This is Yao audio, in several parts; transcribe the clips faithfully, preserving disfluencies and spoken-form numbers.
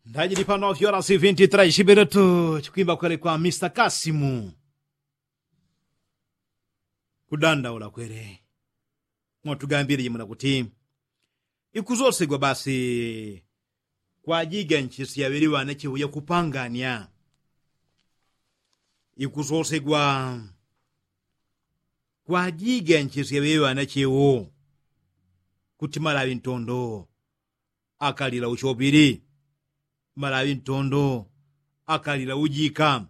Ndajili pano fyora sifinti trai shiberetu chikwimba kwele kwa mista kasimu. Kudandaula kwele mwatugambile jimuna kuti ikusosegwa basi kwajiga nchisi yaŵele ŵanachewo yakupangania. Ikusosegwa kwajiga nchisi yaŵele ŵanachewo kuti malaŵi ntondo akalila ushopili, malaŵi ntondo akalila ujika,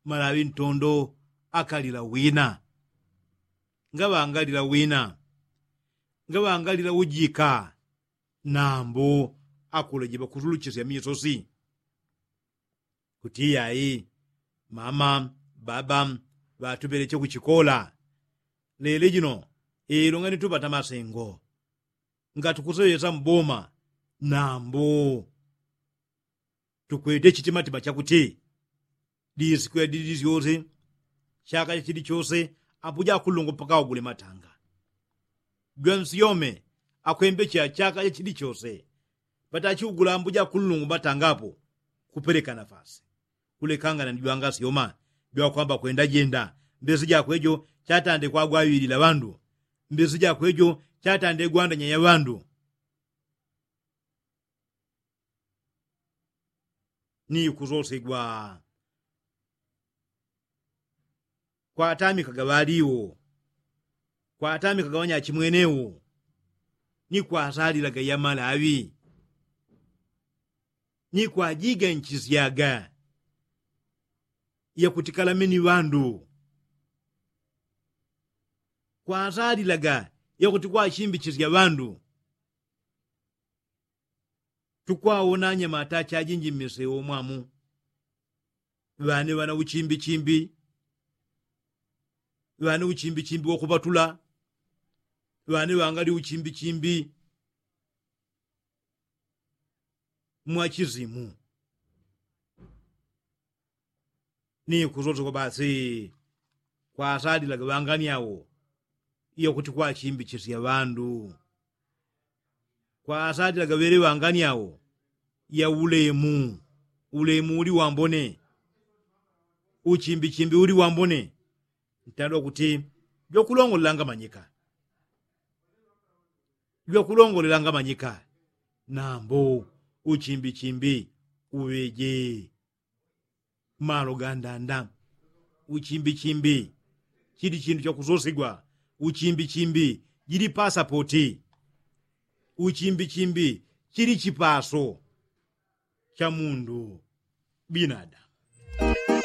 malaŵi ntondo akalila wina. Ngaŵangalila wina, ngaŵangalila ujika, nambu akuleje ŵakusuluchisya misosi. Kuti iyai mama, baba ŵatuŵeleche kuchikola. Lele jino ilo ngani tupata masengo ngatukuseŵesa mboma, nambu tukwete chitimatima chakuti disiku ya didi syose, chaka chachidi chose, ambuja akulungu mpaka ugule matanga. Jwansyome akwembecha chaka chachidi chose, patachiugula ambuja akulungu matanga apo kupeleka nafasi kulekangana ni jwangasyoma jwakwamba kwenda jenda. Mbesi jakwejo chatande kwagwaŵilila ŵandu, mbesi jakwejo chatande gwandanya ya ŵandu. Ni kusosegwa kwatamikaga ŵaliwo, kwatamikaga ŵanyachimwenewo, ni kwasalilaga yamalaŵi, ni kwajiga nchisyaga yakuti kalameni ŵandu, kwasalilaga yakuti kwashimbichisya ŵandu. Tukwawona anyamata achajinji mmisewo mwamu, ŵane ŵana uchimbichimbi, ŵane uchimbichimbi wakuŵatula, ŵane ŵangali uchimbichimbi mwachizimu. Ni kusosegwa basi kwasalilaga ŵangani awo yakuti kwachimbichisya ŵandu, kwasalilaga ŵele ŵangani awo ya ulemu. Ulemu uli wambone, uchimbichimbi uli wambone. Ntandwa kuti jwakulongolela ngamanyika, jwakulongolela ngamanyika, nambu uchimbichimbi uŵeje. Malo gandanda. Uchimbichimbi chili chindu chakusosigwa. Uchimbichimbi jili pasapoti. Uchimbichimbi chili chipaso cha mundu binadamu.